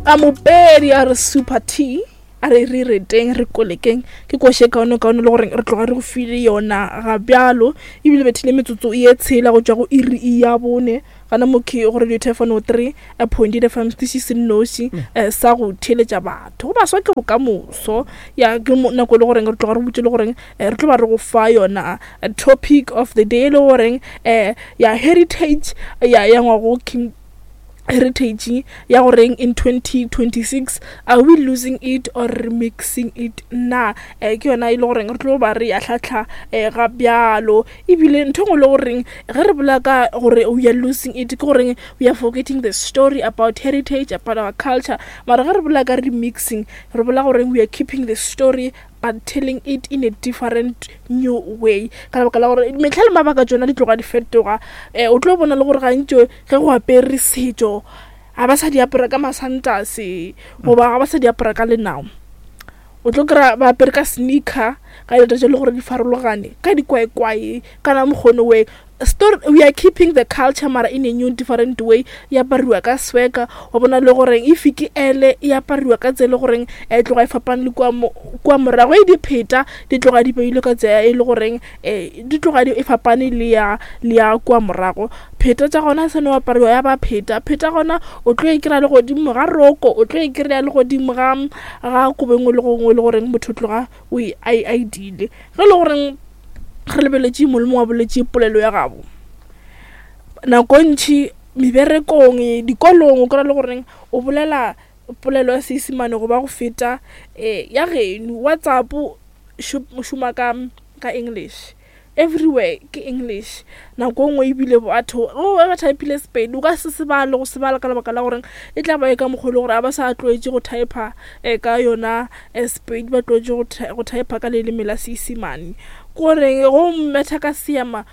A mopedi a re super T a re re reteng re kolekeng ke koše kaone kaone le gore re tloga re go file yona ga bjalo ebile bethile metsotso ye tshela go tšwa go iri ya bone gana mokhi go radio thefano 3 point fm setiši se nnoši mm. sa go theeletša batho go baswa ke bokamoso ya ke nako e le goreng re tloga re botse le goreng re tlo ba re go fa yona topic of the day e le goreng um ya heritage ya ya ngwago king heritage ya goreng in 2026 are we losing it or remixing it na eh, ke yona e le goreng re tlo ba re ya tlhatlha eh, ga bjalo ebile ntho e nngwe le goreng ge re bolela ka gore we are losing it ke goreng we are forgetting the story about heritage about our culture mara ge re bolela ka remixing re bolela goreng we are keeping the story but telling it in a different new way ka lebaka la gore metlha le mabaka tsona di tloga di fetoga um o tlo bona le gore gantši ge go apere setšo ga ba sa di apara ka masantase goba ga ba sa di apara ka lenao o tlo kry-a ba apere ka sneaker ka dilo tse le gore di farologane ka dikwaekwae kana mokgono we story we are keeping the culture mara in a new different way e apariwa ka sweka wa bona le goreng if ke ele e apariwa ka tsela e goreng e tloga e fapane le kua morago e dipheta di tloga di beilwe ka tsela e le goreng um di tloga e fapane le ya le ya kua morago pheta tša gona se no apariwa ya ba pheta pheta gona o tlo e kry-a le godimo ga roko o tlo e kry-a le godimo ga ga kobo engwe le gongwe le goreng motho tloga o e a e dile ge e le goreng re lebeletše mongwe le mongwe a boletše polelo ya gabo nako ntši meberekong dikolong o kry-a le goreng o bolela polelo ya Seisemane goba go feta um ya geno WhatsApp šoma ka ka English everywhere ke English nako nngwe ebile batho o ba typile Sepedi o ka se se bale go se bala ka lebaka la gore e tla ba e ka mokgwa e le gore a ba sa tlwaetše go typer um ka yona Sepedi ba tlwaetše go typer ka leleme la Seisemane kore go mmetha ka seema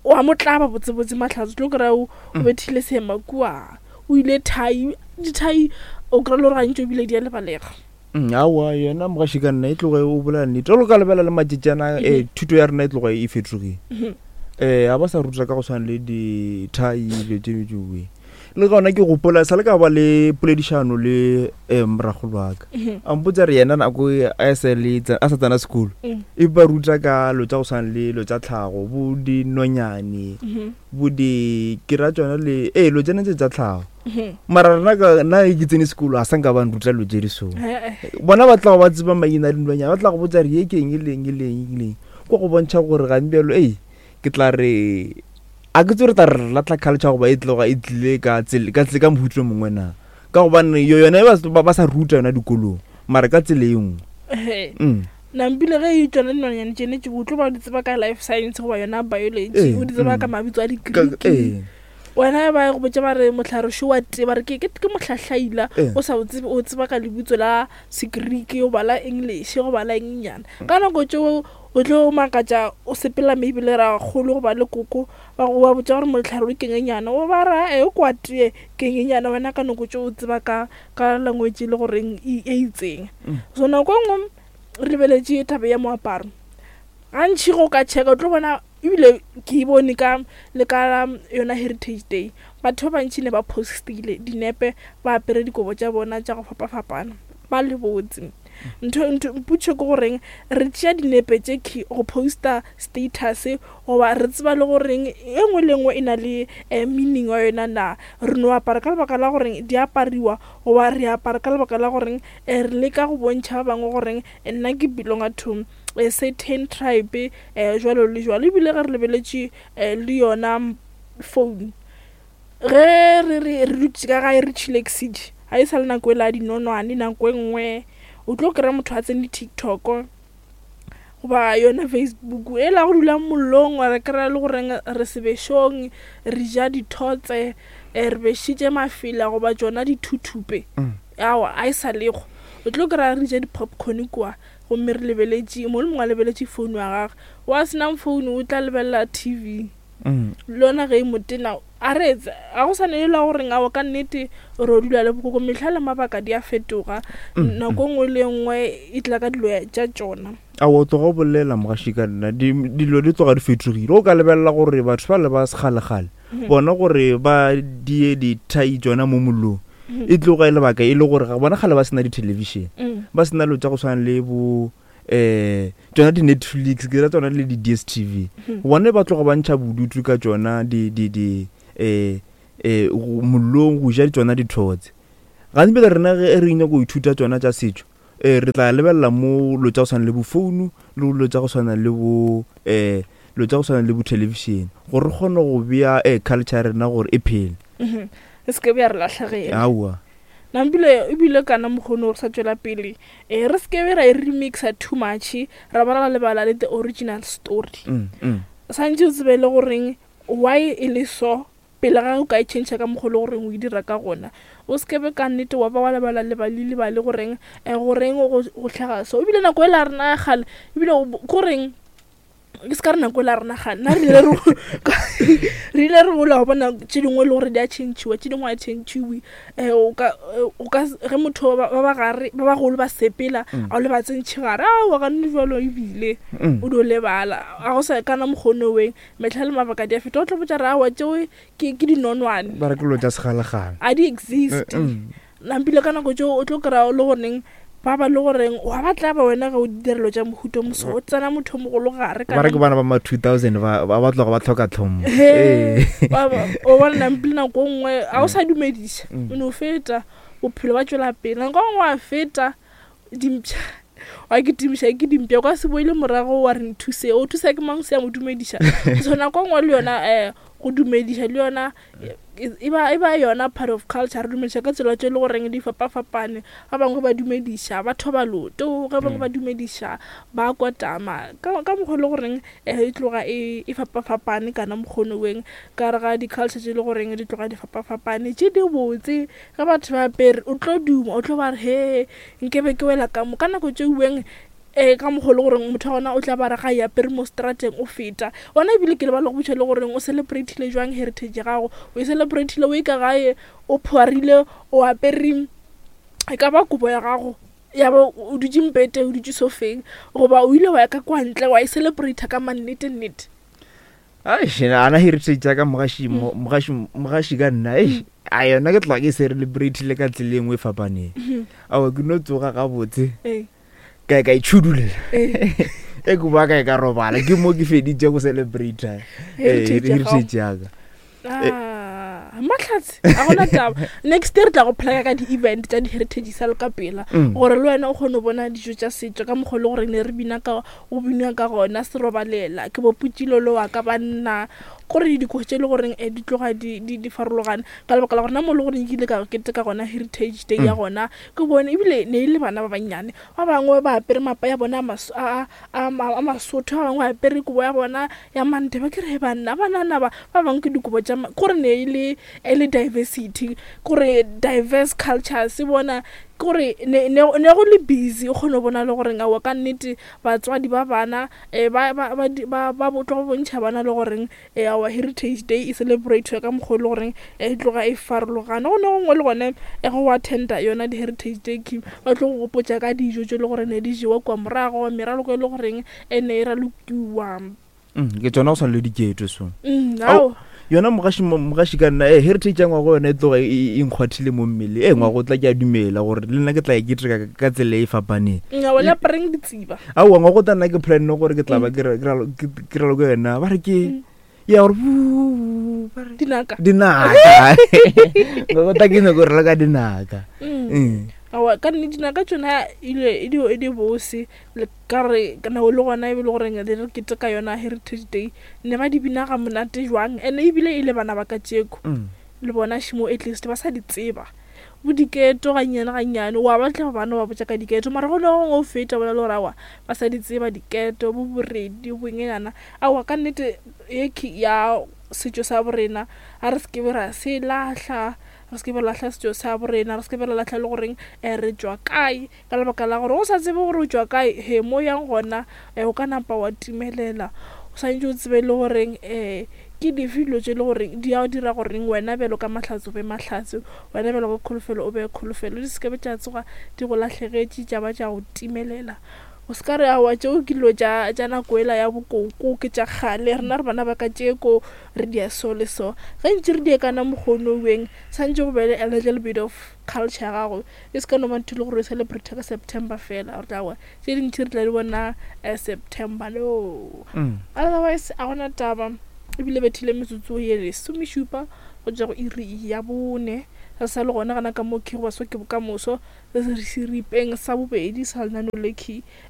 wa mo tlaba botsebotse mahlatse tlo kry-a o mm. bethile seema kua o ile thai dithai o kry-a le gore gantši o bile di a lebalega mm, aowa yena mogaši ka nna e tloge o bolela nnete o ka lebela le matšetšana um thuto ya rena e tloge e fetogile um ga ba sa ruta ka go tshwana le dithai dilo tse tsoe le gona ke gopola sa le ka ba le poledišano le um moragolo wa ka mhm. a mpotsa re yena nako e a sa tsena sekolo mm. e ba ruta ka lo tsa go tshwana le lo tsa tlhago bo dinonyane mhm. bo di ke ra tsona le ee lo tsena tse tsa tlhago mhm. mara rena ka nna ke tsene sekolo a sa nka ba nruta lo tse di so bona ba tla go ba tseba maina a dinonyane ba tla go botsa re ye ke eng e leng e leng e leng ko go bontšha gore gantbjalo ei ke tla re a ke tse re tla re latlha culture goba e tloga e tlile ka tsela ka tsela ka mohuto mongwe na ka gobane yo yone ba ba sa ruta yona dikolong mara ka tsela e nngwe mm. Nampile ge e tšona dinonyane tšene tše o tlo ba di tseba ka life science goba yona biology o di tseba ka mm. mabitso a di-greek wena ba go botša ba re mohlare šo wa tee ba re ke ke mohlahlaila o sa o tsebe o tseba ka lebitso la segriki goba la english goba la engnyana ka nako tšeo o tlo makatša o sepela maybe le rakgolo goba le koko ba go ba botša gore mohlare o kengenyana o ba ra e kwa tee kengenyana wena ka nako tšeo o tseba ka ka language e le goreng e itseng mm. so nako e nngwe re lebeletše taba ya moaparo gantši go ka checka o tlo bona ebile ke e bone ka le ka yona heritage day batho ba bantši ne ba postile dinepe ba apere dikobo tša bona tša go fapafapana ba le botse ntho ntho mpotšo ke goreng re tšea dinepe tše key go posta status goba re tseba le goreng e nngwe le nngwe e na le eh, meaning wa yona na re no apara ka lebaka la goreng di apariwa goba re apara ka lebaka la goreng eh, re leka go bontšha ba bangwe goreng eh, nna ke belonga to a certain tribe eh, jwalo le jwalo ebile ge re lebeletše eh, le yona phone ge re re re dutše ka gae re chillaxitše ga e sa le nako e la dinonwane nako e nngwe o tlo kry-a motho a tsene tiktok goba yona facebook e la go dula mollong wa re kry-a le goreng re sebešong re ja dithotse eh, re bešitše mafela goba tšona dithuthupe mm. awa a e sa lego o tlo kry-a re ja di-popcorn kua gomme re lebeletše mo le mongwe a lebeletše founu ya gage wa senang founu o tla lebelela tv mm. lona ge e motena a re ga go sa ne la goreng ao ka nnete re o dula le bokoko mehla le mabaka di a fetoga mm, nako mm. nngwe le nngwe e tla ka dilo tša tšona a o tloga o bolela mogaši ka nna dilo di tloga di fetogile o ka lebelela gore batho ba le ba sekgalegale mm-hmm. bona gore ba die dithai tsona mo mollong. E tloga e lebaka e le gore ga bona kgale ba sena di-television, ba sena lo tša go tshwana le bo um tsona di-Netflix, ke ra tsona le di-DSTV. Bone ba tloga ba ntšha bodutu ka tsona di di di um um mollong go ja tsona dithotse. Gantsi pele rena ge re nyaka go ithuta tsona tša setšo, um re tla lebelela mo lo tša go tshwana le bo founu le lo tša go tshwana le bo um lo tša go tshwana le bo television gore re kgone go bea um culture ya rena gore e phele. E se ke be ya re lahlegela. Aowa. Nampile ebile kana mokgono re sa tšwela pele um re se ke be ra e remixa too much ra ba ra lebala le the original story. Santše o tsebe le goreng why e le so pele ga o ka e change ka mokgwa le goreng o e dira ka gona. O se ke be ka nnete wa ba wa lebala lebali lebale goreng goreng go hlaga so. Ebile nako e la rena ya kgale ebile goreng ke se ka re nako e la rena gane nna re ile re ile re gola wa bona tše dingwe e le gore di a change-iwa tše dingwe a change-iwe. O ka o ka ge motho ba ba gare ba bagolo ba sepela a o le ba tsentšhe gare aowa gane jalo ebile o dio lebala a go sa kana mokgono weng mehla le mabaka di a feta o tlo botša re aowa tšeo ke ke dinonwane Ba re ke lo tša segalagala. A di exist. Nampile ka nako tšeo o tlo kry-a le goreng ba ba le goreng wa ba tlaba wena ge o ditirelo tša mohuta moso o tsena motho o mogolo gare ba re ke bana ba ma 2000 ba ba tloga ba tlhoka tlhompho. O bona nampile nako nngwe ga o sa dumediša o no feta bophelo ba tšwela pele nako nngwe wa feta dimpša wa kitimiša ke dimpša o ka se boele morago wa re nthuse o thusa ke mang se ya mo dumediša. So nako nngwe le yona um go dumediša le yona e ba e ba yona part of culture. Re dumediša ka tsela tše e le goreng di fapafapane. Ba bangwe ba dumediša ba thoba loto, ge bangwe ba dumediša ba kotama ka mokgwa e le goreng e tloga e fapafapane kana mokgono weng ka re ga di-culture tše e le goreng di tloga di fapafapane tše di botse. Ge batho ba apere o tlo duma o tlo ba re he nkebe ke wela ka mo ka nako tše weng ka mokgwa le goreng motho wa gona o tla ba re ga e apere mo strateng o feta gona. Ebile ke lebala go botša le goreng o celebratile jwang heritage ya gago, o e celebratile o e ka gae o phoarile o apere e ka ba kobo ya gago ya ba o dutše mpete o dutše sofeng goba o ile wa ya ka kwa ntle wa e celebrata ka mannete nnete. Ana heritage ya ka mogaši mogaši mogaši ka nna eish a yona ke tloga ke celebratile ka tsela e nngwe e fapaneng. Aowa ke no tsoga gabotse ka ka itšhudulela e ke boa ka e ka robala ke mo ke feditše go celebrata heritage ya ka. Mahlatse a gona taba. Next year re tla go playa ka di-event tša di-heritage sa le ka pela gore le wena o kgone go bona dijo tša setšo ka mokgwa le gore ne re bina ka go binwa ka gona serobalela ke boputšilolo wa ka banna gore dikogo tše e le goreng di tloga di farologane ka lebaka la gore nna mo le gore nkile ka keteka gona heritage day ya gona ke bone ebile ne e le bana ba bannyane ba bangwe ba apere mapa ya bona a masotho, ba bangwe ba apere kobo ya bona ya manteba. Ke re banna banana ba ba bangwe ke dikobo tša kore ne e le e le diversity, kore diverse cultures bona kore ne ne go le busy o kgone go bona le gore aowa ka nnete batswadi ba bana ba ba ba ba ba tlo go bontšha bana le goreng our heritage day e celebrate ka mokgwa e le goreng e tloga e farologana. Go ne gongwe le gone go attenda yona di-heritage day ke ba tlo go gopotša ka dijo tše e le gore ne di jewa kua morago, meraloko e le goreng e ne e ralokiwa. Ke tsona go tshwana le diketo so. Ao yona mogaši mogaši ka nna heritage ya ngwago yona e tloga e nkgwathile mo mmele. Ngwago o tla ke a dumela gore le nna ke tla e keteka ka tsela e fapaneng. Nna wena apareng ditsiba. Aowa ngwago tla nna ke planne gore ke tla ba ke raloka yona ba re ke ya gore ba re dinaka. Dinaka. Ngwago tla ke nyako raloka dinaka. Aowa ka nnete dinaka tsona ile e di bose ka re nako le gona e be le goreng re keteka yona heritage day ne ba di bina ga monate jwang and ebile e le bana ba ka tšeko le bona šimo at least ba sa di tseba bo diketo gannyane gannyane wa ba tla bana ba botša ka diketo mara go ne gongwe o feta bona le gore aowa ba sa di tseba diketo bo boredi bongenyana aowa ka nnete ye ya setšo sa borena a re se ke be ra se lahla, re se ke be ra lahla setšo sa borena, re se ke be ra lahla le goreng re tšwa kae ka lebaka la gore o sa tsebe gore o tšwa kae he mo yang gona o ka napa wa timelela. O swanetše o tsebe le goreng ke dife dilo tše e le goreng di a dira goreng wena bjalo ka Mahlatse o be Mahlatse, wena bjalo ka Kholofelo o be Kholofelo, di se ke be tša tsoga di go lahlegetše tša ba tša go timelela. O se ka re aowa tšeo ke dilo tša tša nako ela ya bokoko ke tša kgale rena re bana ba ka tšeko re dia so le so. Ge ntše re die kana mokgono weng santše go be le a little bit of culture ya gago e se ka no ba ntho e le gore o celebrate ka September fela gore aowa tše dintši re tla di bona September no. Otherwise a gona taba ebile bethile metsotso ye lesomešupa go tšwa go iri ya bone re sa le gona gana ka mo ke go baswa ke bokamoso. Seripeng sa bobedi sa lenaneo le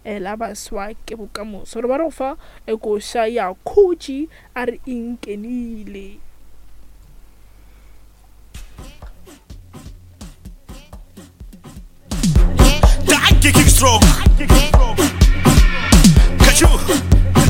eh, la baswa ke bokamoso. Re ba re go fa eh, koša ya khutši a re inkenile. Danke, King Stroke.